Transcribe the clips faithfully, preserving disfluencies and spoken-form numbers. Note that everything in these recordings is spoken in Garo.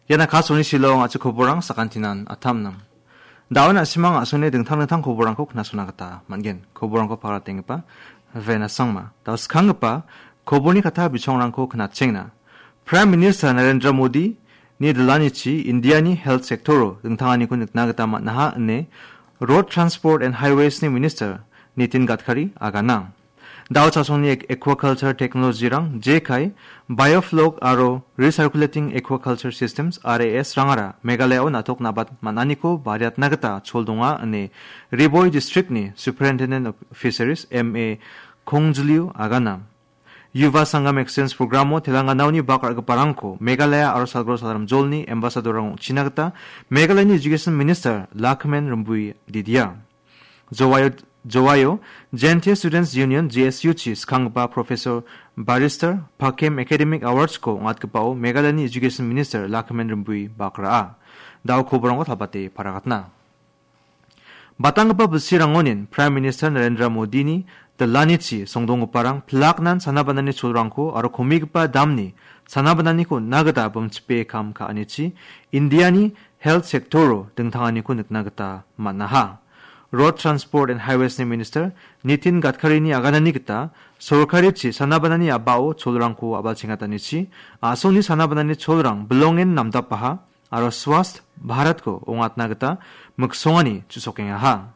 Ian Akashvani Shillong a·chik koborang sakantinan atamnang. Daun a·simang a·songni dingtang dingtang koborangko knasona gita man·gen. Koborangko paratenggipa Vena Sangma. Dao skanggipa koborni kata bichongrangko knatchengna. Prime Minister Narendra Modi ni dilanichi Indiani health sector-o dingtanganiko nikna gita man·aha ine Road Transport and Highways-ni Minister Nitin Gadkari agana. Dao chasongni ek-, aquaculture technology-rang, jekai, biofloc aro recirculating aquaculture systems, R A S, rangara Meghalaya-o na·tok nabat man·aniko bariatna gita chol donga ine Ri Bhoi District-ni Superintendent of Fisheries, M A Khongjliu agana. Yuva Sangam Exchange Program-o Telangana-oni bak ra·giparangko Meghalaya aro Salgro Salramjolni ambassador-rang ong·china gita Meghalayani Education Minister Lakhman Rymbui didia. Jowaio, Jowaio Jaintia Students Union, J S U-chi skanggipa Professor Barrister Pakem Academic Awards-ko ong·atgipao Meghalayani Education Minister Lakhman Rymbui bak ra·a. Dao koborangko tabate paragatna. Batanggipa bilsirangonin Prime Minister Narendra Modini dilanichi songdonggiparang pilaknan sana banani cholrangko aro komigipa damni sana bananiko on·na gita bimchipe kam ka·anichi Indiani health sector-o dingtanganiko nikna gita man·aha. Road Transport and Highways-ni Minister Nitin Gadkarini aganani gita sorkarichi sana banani a·bao cholrangko a·balchengatanichi a·songni sana banani cholrang bilongen namdapaha aro Swasth Bharatko ong·atna gita miksongani chu·sokengaha.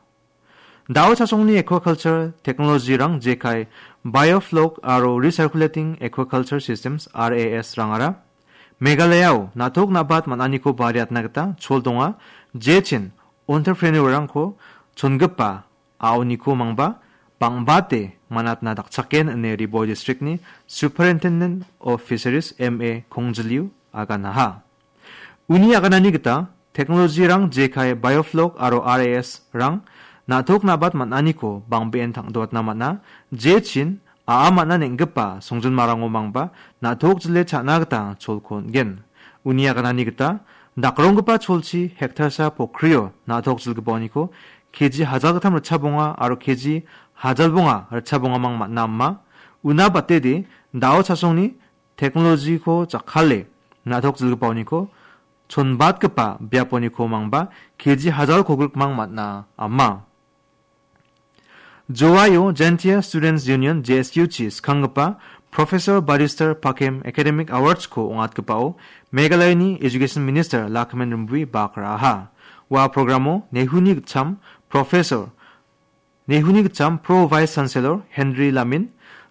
Dao chasongni aquaculture technology-rang jekai biofloc aro recirculating aquaculture systems, R A S, rangara Meghalaya-o na·tok nabat man·aniko bariatna gita chol donga, jechin entrepreneur-rangko chongipa a·oniko mangba bang·bate man·atna dakchaken ine Ri Bhoi District-ni Superintendent of Fisheries, M A Khongjliu aganaha. Uni aganani gita, technology-rang jekai biofloc aro R A S-rang na·tok nabat man·aniko bang·been tang·doatna man·a, jechin a·a man·a neng·gipa songjinmarango mangba na·tok jile cha·na gita cholko on·gen. Uni aganani gita, dakronggipa cholchi hektarsa pokrio na·tok jilgipaoniko K G hajalgittam ritchabonga aro K G hajalbonga ritchabongamang man·a ama. Una batede, dao chasongni technology-ko jakkale na·tok jilgipaoniko chonbatgipa biaponiko mangba K G hajal kogrikmang man·a ama. Jowaio Jaintia Students Union, J S U-chi skanggipa Professor Barrister Pakem Academic Awards-ko ong·atgipao Meghalayani Education Minister Lakhman Rymbui bak ra·aha. Ua programo Nehuni gitcham Professor Nehuni gitcham Pro Vice Chancellor Henry Lamin,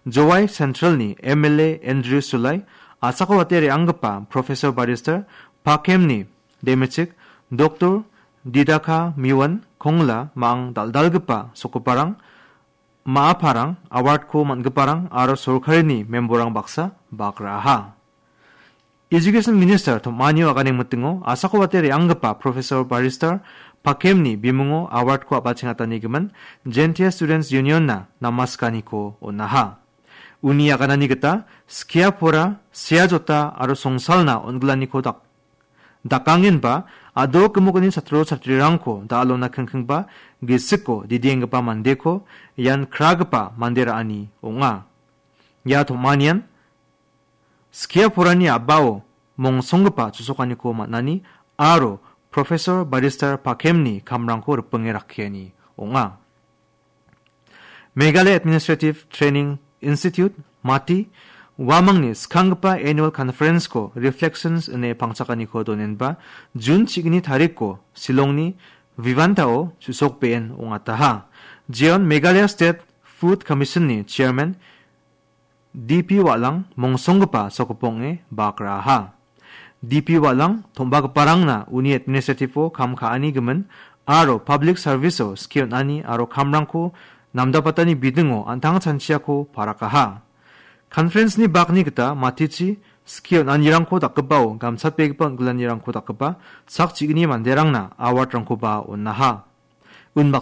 Jowai Central-ni M L A Andrew Sulai, a·sako wate re·anggipa Professor Barrister Pakemni demechik Doctor Didaka Miwan Kongla, ma·ang dal·dalgipa sokgiparang, ma·aparang, award-ko man·giparang aro sorkarini memborrang baksa bak ra·aha. Education Minister tom·anio aganengmitingo a·sako wate re·anggipa Professor Barrister Pakemni bimungo award-ko a·balchengatanigimin Jaintia Students Union-na namaskaniko on·aha. Uni aganani gita skia pora, sea jota aro songsalna on·gilaniko dak-, dakangenba a·dok gimokni chatro chatrirangko da·alona kingkingba gisiko didienggipa mandeko ian kragipa mande ra·ani ong·a. Ia tom·anian skia porani a·bao mongsonggipa chu·sokaniko man·ani aro Professor Barrister Pakemni kamrangko ripinge rakkiani ong·a. Meghalaya Administrative Training Institute, MATI, uamangni skanggipa annual conference-ko Reflections ine pangchakaniko donenba June chigni tarikko Shillongni Vivanta-o chu·sokbeen ong·ataha. Jeon Meghalaya State Food Commission-ni Chairman D P Walang mongsonggipa sokgipong ong·e bak ra·aha. D P Walang tom·bagiparangna uni administrative-o kam ka·ani gimin aro public service-o skie on·ani aro kamrangko namdapatani bidingo an·tang chanchiako parakaha. Conference-ni bakni gita matichi skie on·anirangko dakgipao gamchatbegipa on·gilanirangko dakgipa sak chigni manderangna award-rangkoba on·aha. Unbak